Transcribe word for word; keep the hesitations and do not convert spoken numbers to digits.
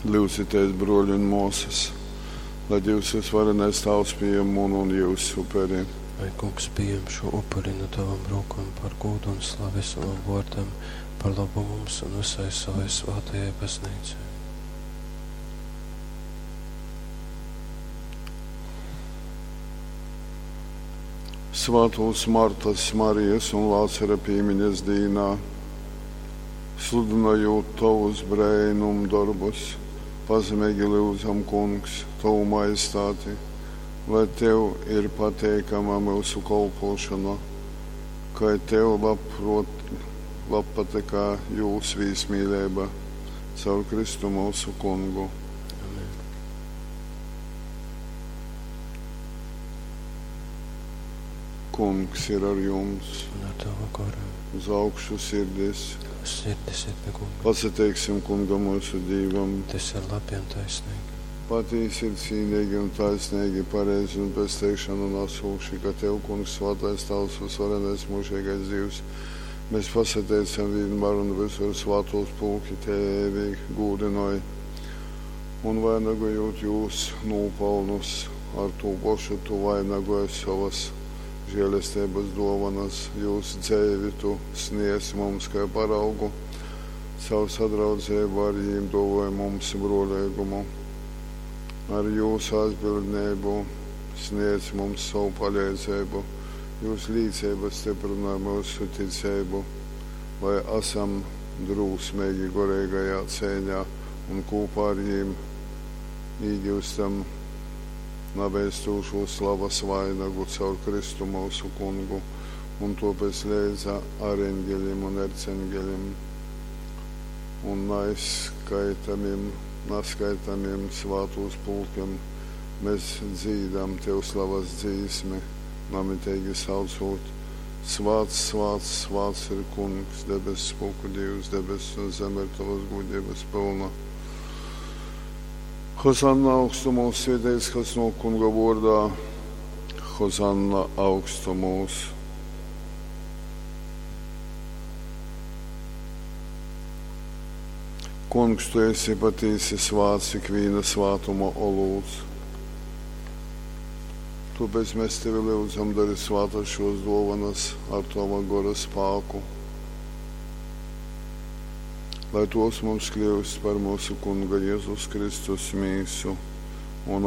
Lyudzitēs, bruoļi un muosys, lai Dīvs vysvarenais Tāvs pījem munu un jyusu uperi. Lai Kungs pījem šū upuri nu tovom rūkom par gūdu un slavi sovam vōrdam, par lobu mums un vysai sovai svātajai Bazneicai. Svātūs Martas, Marijas un Lācara pīmiņas dīnā, sludynojūt tovus breinumdorbus, pazemeigi lyudzam, Kungs, tovu majestāti, lai tev ir pateikama myusu kolpōšona, kai tev labprot, labpatykā jūs vīsmīleiba. Caur Kristu myusu Kungu. Amen. Kungs ir ar jums, Un ar tavu goru. uz augšu sirdis. Sirdis ir pie Kunga. Pasateiksim Kungam mūsu Dīvam. Tas ir labi un taisnīgi. Patīsi ir cīnīgi un taisnīgi, pareizi un pesteikšanu nesūši, ka Tev, Kungs, svētais Tavs, visvarenais mūžīgais Dievs, mēs pasateicam vienmēr un visur svātos pulki Tevi gūdinoj un vainagojot jūs nopelnus, ar to pašu tu vainagoji savas žēlestības dovanas, jūs dzēvi tu sniedz mums kā paraugu, savu sadraudzību ar jīm dāvoja mums brolīgumu. Ar jūsu aizbildnību sniedz mums savu palīdzību, jūsu līdzība stiprināja mūsu ticību, lai esam drūsmīgi gorīgajā cīņā un kopā ar jīm iegūstam nabeidzošo slavas vainagu caur Kristu mūsu Kungu, un tāpēc leidza ar eņģeļiem un erceņģeļiem un neizskaitamiem, neskaitamiem svātos pulkiem mēs dzīdam Tev slavas dzīsmi, namitīgi saucot: Svāts, svāts, svāts ir Kungs, debesu spūku Dievs, debesis un zeme ir tavas gudrības pilna. Hozanna augstumos, svētīts, kas no Kunga vārdā. Hozanna augstumos. Kungs, tu esi patīsi svāts ikviena svātuma olūts. Tāpēc mēs tevi lūdzam, dari svātas šos dovanas ar tava gora spēku, lai tos mums kļūst par mūsu Kunga Jēzus Kristus mīsu.